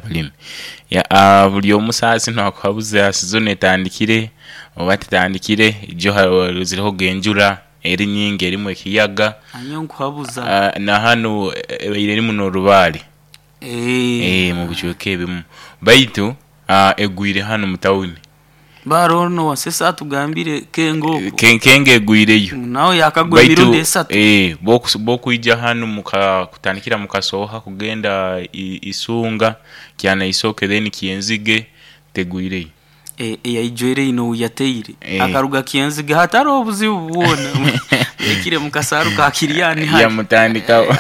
Abalimi, buli omu saha zino akuhabuza sizoni etandikire oba tetandikire ijo ziroho enjura eri nyingi erimu ekiyaga. Nyowe nkuhabuza. Nahanu ebaire erimu no'lubaale mubicweka ebimu baitu egwire hanu mutawuni. Baara ono owa Sesa atugambire Kengo okwo. Kengo egwireyo. Nawe yakagwa emirundi esatu. Baitu bwokwija hanu kutandikira mukasoha kugenda Isunga, Kyanaisoke then Kyenzige tegwireyo. Eyaijwire einho wuyataire akaruga Kyenzige hataloho buzibu bwona yaikire mukasaaru ka Kiryani hare Yamutandikaho.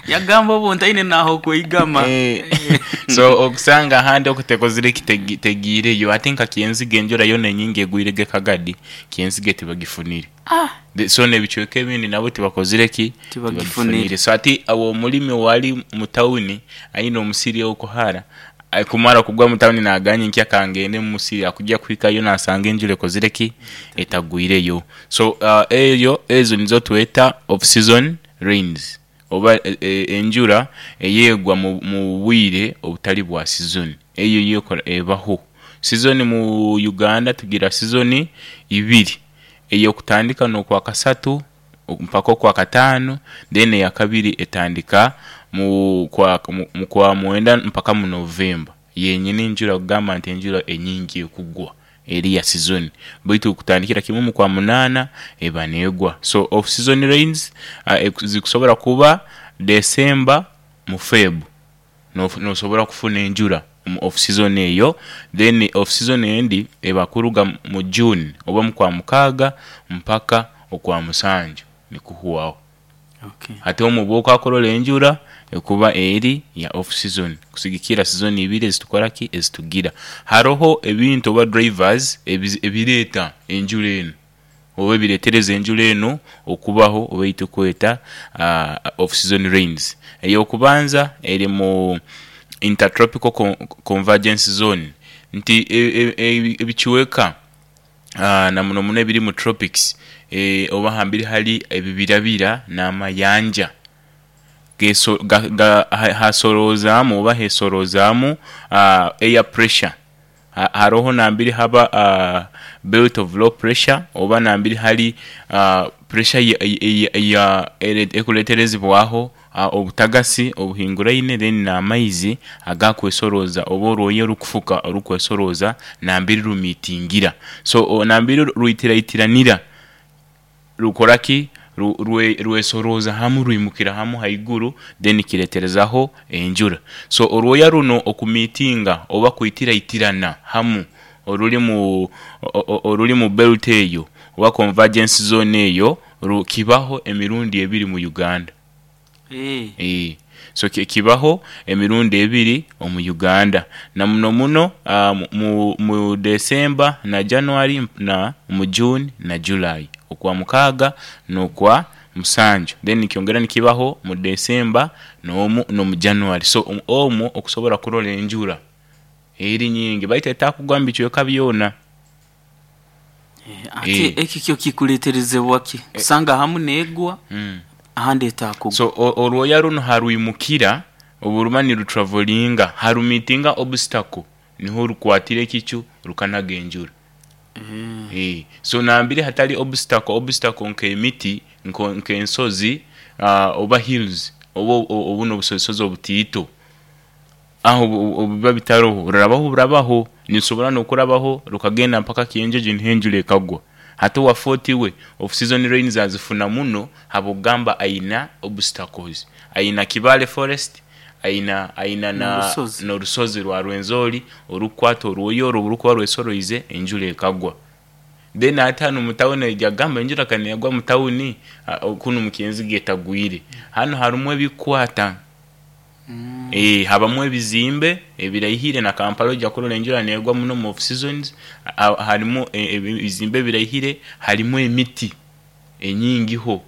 Yagamba obwo ntaine nahokweigama. So okusanga ahandi okutekozire ki tegiireyo ate nka Kyenzige enjura yona enyingi egwire ge Kagadi, Kyenzige tibagifunire. So nebicweka ebindi nabo tibakozire ki? Tibagifunire. So ati awo omulimi owali mutawuni aine omusiri okwo hara, kumara kugwa mutawuni nagamba nyenkya kangende mumusiri akugya kwikayo nasanga enjura ekozire ki? Etagwireyo. So eyo ezo nizo tweta off season rains oba enjura eyegwa mubwire obutali bwa sizoni eyo yo ekola ebaho. Sizoni mu Uganda tugira sizoni ibiri, eyokutandika nokwakasatu mpaka okwakataanu then eyakabiri etandika mukwa mwenda mpaka mu November. Yenyini enjura kugamba nti enjura enyingi ekugwa eri ya sizoni baitu okutandikira kimwe mukwa munaana eba negwa. So off season rains zikusobola kuba December mu Feb nosobola kufuna enjura omu off season eyo then off season endi eba kuruga mu June oba mukwa mukaaga mpaka okwa musanju nikuhwaho. Ate omwo bwokwakulola enjura ekuba eri ya off season kusigikira sizoni ibiri ezitukolaki ezitugira. Haroho ebintu oba drivers ebireta enjura enu oba ebiretereza enjura enu okubaho oba eitukweta off season rains. Eyokubanza eri mu intertropical convergence zone nti ebicweka namuno muno ebiri mu tropics oba nambere hali ebibirabira na'mayanja hasolozamu oba hesolozamu air pressure. Haroho namberi haba belt of low pressure oba namberi hali pressure ekuleterezebwaho obutagasi obuhinguraine then na'maizi agakwesoloza oba olwoya olukufuka olukwesoloza namberi lumitingira. So namberi lwitirairanira lukolaki? Lwesoloza hamu lwimukira hamu ghaigulu then kireterezaho enjura. So olwoya luno okumitinga oba okwitiraitirana hamu oluli mu belt eyo oba convergence zone eyo kibaho emirundi ebiri mu Uganda. So kibaho emirundi ebiri omu Uganda namuno muno mu December na January na mu June na July okwa mukaga no kwa musanju then nikyongera nikibaho mu December nomu January so omwo okusobola okulola enjura eri nyingi baitu etakugwa mubicweka byona. Ate ekyo kyo kikuleterezebwa ki? Kusanga ahamu negwa ahandi etakugwa. So olwoya luno halwimukira obu luba nilutravelinga halumitinga obstacle niho lukwatira ekicu lukanaga enjura. So namberi hatali obstacle, obstacle nk'emiti, nk'ensozi oba hills oba obuno obusozisozi obutaito aho obubiba bitaroho rurabaho burabaho, nirusobola nokurabaho rukagenda mpaka Kyenjojo niho enjura ekagwa. Hati owa Fort we off season rains azifuna muno habwokugamba aina obstacles, aina Kibale forest, aina aina norusozi rwa Rwenzori orukukwata orwoya orwo oburukuba rwesoroize enjura ekagwa. Then ate hanu mutawuni oija kugamba enjura kanegwa mutawuni kunu mukyenzige etagwire. Hanu harumu ebikukwata, habamu ebizimbe ebiraihire na Kampala oija kulola enjura negwa muno mu off seasons, harimu ebizimbe ebiraihire, harimu emiti enyingiho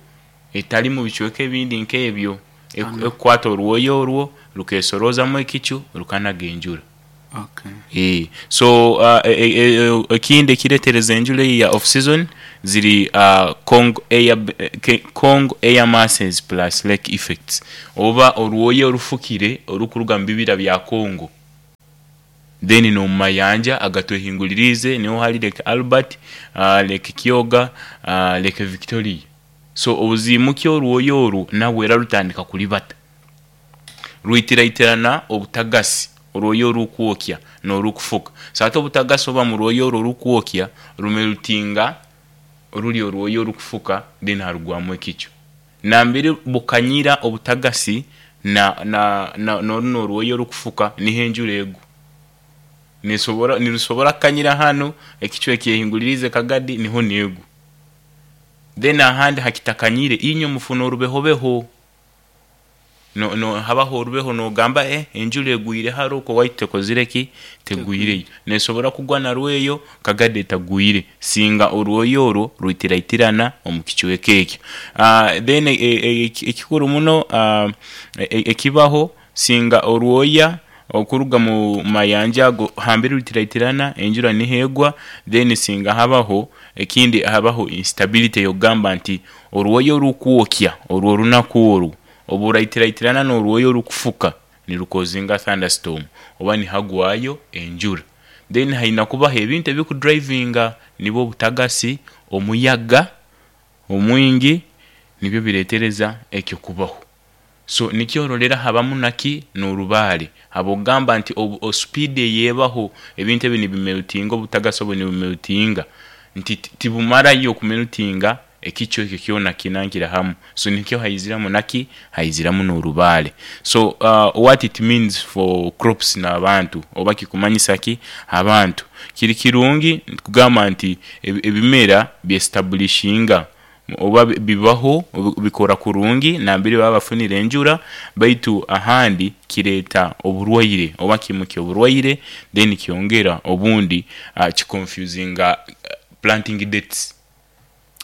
etali mubicweka ebindi nk'ebyo ekukwata orwoya orwo rukesorozamu ekicu rukanaga enjura. So ekindi ekiretereza enjura eyo eya off season ziri Congo air masses plus lake effects oba orwoya orufukire orukuruga mubibira bya Congo. Then n'omu mayanja agatwehinguliriize niho hari Lake Albert, Lake Kyoga, Lake Victoria. So obuziimukya orwoya oru nabwo era rutandika kuribata. Rwitiraitirana obutagasi, orwoya orukwokya n'orukufuka. So hati obutagasi obuba mu rwoya oru orukwokya rumeltinga ruri orwoya orukufuka then harugwamu ekicu. Nambere bukanyira obutagasi na n'orunu orwoya orukufuka niho enjura egwa. Nesobora nirusobora kukanyira hanu, ekicu ekyehinguliriize Kagadi niho neegwa. Then ahandi hakitakanyire inywe mufuna orubehobeho, habaho orubeho nogamba enjura egwire hari oku owaitu tekozire ki? Tegwireyo. Nesobora kugwa narweyo Kagadi etagwire singa orwoya orwo rwitiraitirana omu kicweka ekyo. Then ekikuru muno ekibaho singa orwoya okuruga mu mayanja ago hambere rwitiraitirana enjura niho egwa, then singa habaho ekindi habaho instability eyokugamba nti orwoya orukwokya orw'orunaku orwo obu rwaitiraitirana n'orwoya orukufuka nirukozinga thunderstorm oba nihagwayo enjura. Then haina kubaho ebintu ebikudrivinga nibwo obutagasi, omuyaga omwingi nibyo bireetereza ekyo kubaho. So nikyo orolera habamu naki n'orubaare habw'okugamba nti speed eyeebaho ebintu ebi nibimeltinga obutagasi obu nibumeltinga nti tibumarayo kumeltinga ekicu ekyo kyona kinankire hamu. So nikyo haiziramu naki haiziramu n'orubaare. So what it means for crops n'abantu oba kikumanyisa ki abantu, kiri kirungi kugamba nti ebimera byestablishinga oba bibaho bikora kurungi nambere baba bafunire enjura, baitu ahandi kireeta oburwaire oba kiimukya oburwaire then kyongera obundi kiconfusinga planting dates.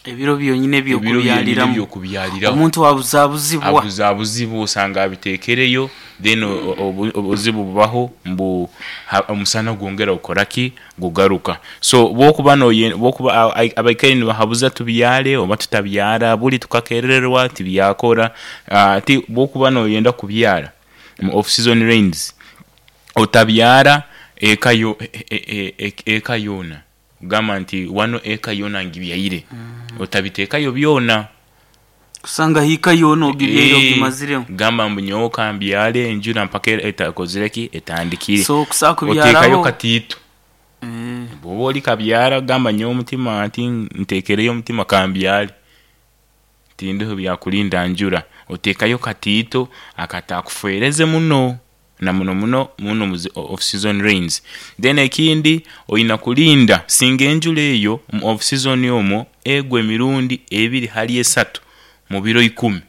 Ebiro byonyini Ebiro byonyini eby'okubyaliramu eby'okubyaliraho. Omuntu abuzabuzibwa. Abuzabuzibwa osanga abiteekereyo then obuzibu bubaho mbu omusana gwongera gukoraki? Gugaruka. So bwokuba bwokuba abaikaire nibahabuza tubyare oba tutabyara buri tukakerererwa tibyakora, ti bwokuba noyenda kubyara mu off season rains, otabyara eka yoona kugamba nti wanu eka yoona ngibyaire, otabiteekayo byona. Kusanga hiika yoona ogibyaire ogimaziremu. Gamba mbu nyowe kambyare enjura mpaka ekoze ki? Etandikire. So okusobola Oteekayo kubyaraho katiito. Bwoba ori kabyara gamba nyowe omutima nti nteekereyo omutima kambyare, tindiho byakurinda njura. Oteekayo katiito akatakufereze muno na muno muno muno mu zi off season rains. Then ekindi oina kulinda singa enjura eyo mu off season omwo egwa emirundi ebiri hali esatu mu biro ikumi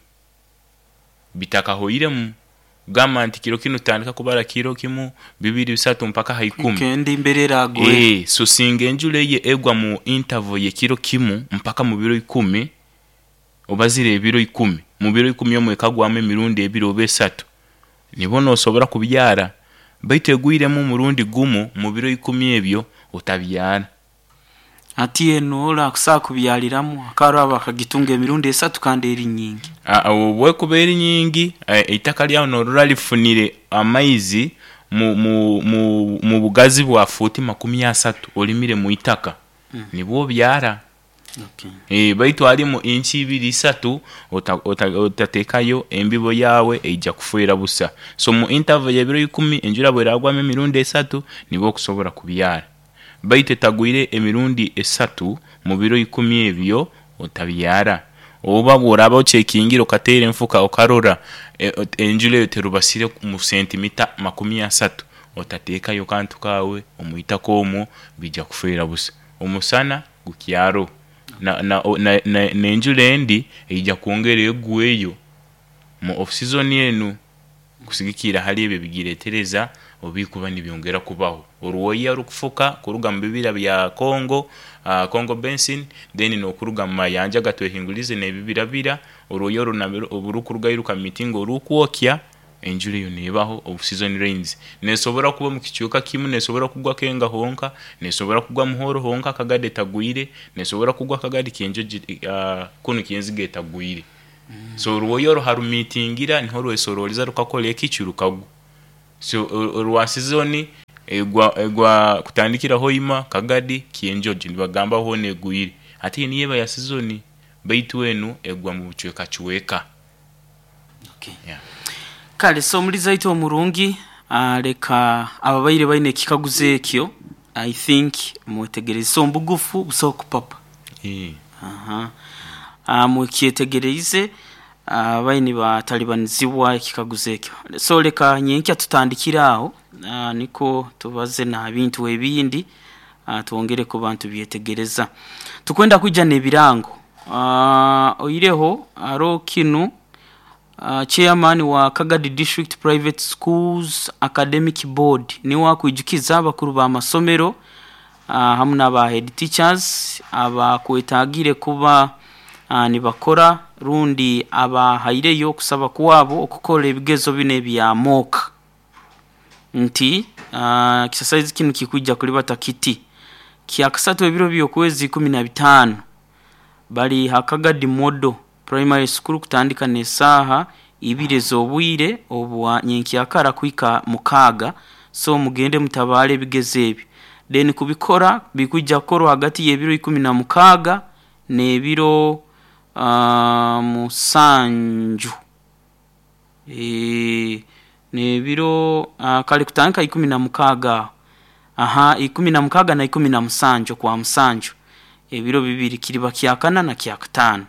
bitakahoiremu. Gamba nti kiro kinu tutandika kubara kiro kimu, bibiri, bisatu mpaka ha ikumi. Weekend mbere eragwera. So singa enjura eyo egwa mu interval y'ekiro kimu mpaka mu biro ikumi, obazire ebiro ikumi, mu biro ikumi omwo ekagwamu emirundi ebiri oba esatu, nibwo nosobora kubyara, baitu egwiremu omurundi gumu mu biro ikumi ebyo, otabyara. Hati eno ora kusobola kubyaliramu akaraba akagitunga emirundi esatu kandi eri nyingi. Obwekuba eri nyingi, eitaka lyawe norora lifunire amaizi mu bugazi bwa fuuti 30 olimire mwitaka, nibwo obyara. Baitu harimu inchi ibiri isatu otateekayo embibo yaawe eija kufeera busa. So mu interval y'ebiro ikumi enjura bweragwamu emirundi esatu nibwo okusobora kubyara, baitu etagwire emirundi esatu mu biro ikumi ebyo otabyara. Oba bworaba ochekingire okateera enfuka okarora enjura eyo terubasire mu sentimita 30, otateekayo kantu kaawe omwitaka omwo biija kufeera busa. Omusana gukyaroho n'enjura endi eija kwongera egweyo mu off season enu kusigikiira hali ebyo ebigireetereza obubikuba nibyongera kubaho. Orwoya orukufuka kuruga mu bibira bya Congo, Congo Basin, then n'okuruga mu mayanja agatwehinguliriize n'ebibirabira, orwoya orwo nabyo oburukurugayo rukamiitinga orukwokya, enjura eyo neebaho off season rains. Neesobora kuba omu kicweka kimu, neesobora kugwa Kenga honka, neesobora kugwa Muhoro honka Kagadi etagwire, neesobora kugwa Kagadi kunu Kyenzige etagwire. So orwoya orwo harumiitingira niho rwesororeza rukakora ekicu rukagwa. So orwa season. Egwa egwa kutandikira Hoima, Kagadi, Kyenjojo nibagamba hoona egwire. Ate yo niyo eba ya sizoni baitu enu egwa mu bucwekacweka. Okay. Yeah. Kale so omulizi waitu omurungi leka ababaire baine ekikaguzo ekyo I think mwetegereze. So omubugufu busaho kupapa. Aha. Mukyetegereize ababaire nibatalibanizibwa ekikaguzo ekyo. So leka nyenkya tutandikire aho nikwo tubaze n'aha bintu ebindi twongere kuba nitubyetegereza. Tukwenda kwija n'ebirango. Oihireho haroho kinu chairman wa Kagadi District Private Schools Academic Board niwe akwijukiza abakuru b'amasomero hamu n'aba head teachers abakwetagire kuba nibakora rundi abahaireyo okusaba kwabo okukora ebigezo binu ebya mock nti exercise kinu kikwija kulibata kiti kyakasatu ebiro by'okwezi 15 bali ha Kagadi Model Primary School kutandika n'esaaha ibiri ez'obwire obwa nyenkyakara kuhika 6 so mugende mutabaale ebigezo ebi. Then kubikora bikwija kukorwa hagati y'ebiro 16 n'ebiro 7 n'ebiro kare kutandika 16 aho aha 16 na 17 okwa musanju ebiro bibiri kiriba kyakana na kyakataano.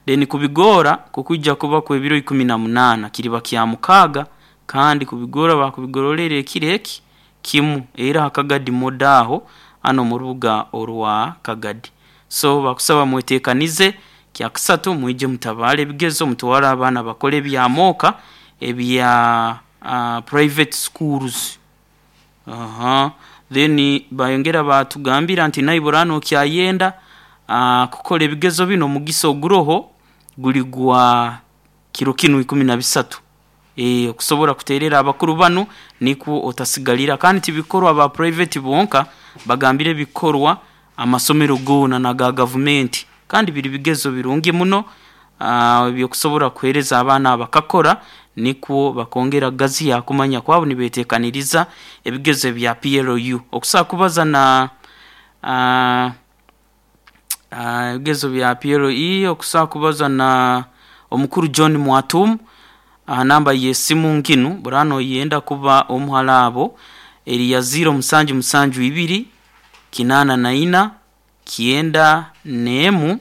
Then kubigora kukwija kuba kw'ebiro 18 kiriba kyamukaaga kandi kubigora bakubigororera ekiro eki kimu era ha Kagadi Model aho hanu omu rubuga orwa Kagadi. So bakusaba mwetekanize kyakasatu mwije mutabaale ebigezo mutwale abaana bakole ebya mock ebya private schools. Aha. Then bayongera batugambira nti naibura nokyayenda kukora ebigezo binu omugisa oguroho guri gwa kiro kinu 13 okusobora kuterera abakuru banu nikwo otasigalira kandi tibikorwa aba private bonka bagambire bikorwa amasomero goona n'aga gavumenti kandi biri bigezo birungi muno ebyokusobora kuheereza abaana bakakora nikwo bakongera kugaziya kumanya kwabo nibetekaniriza ebigezo ebya PLU. Okusobola kubaza na ebigezo bya PLE okusobola kubaza na omukuru John Mwatumu aha namba y'esimu nkinu bw'oraaba noyenda kuba omu hali abo eri ya 0772 84 91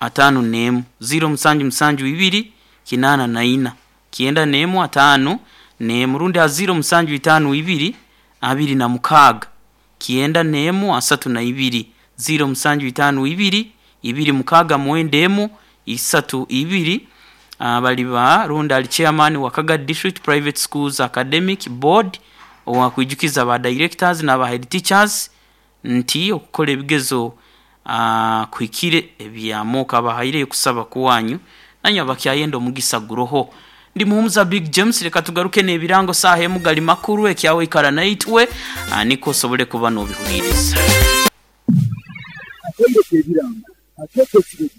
51 0772 84 91 51 rundi ha 0752 26 91 32 0752 26 91 32 bali ba rundi ali chairman wa Kagadi District Private Schools Academic Board owakwijukiza ba directors n'aba head teachers nti okukora ebigezo kuhikire ebya mock abahaireyo okusaba kwanyu nanywe abakyayenda omugisa guroho. Ndi Muhumuza Big James leka tugaruke n'ebirango saaha emu gali makuru ekyawe ikara naitwe nikwo osobole kuba n'obihuliriza. Akaire k'ebirango akeeta ekiro.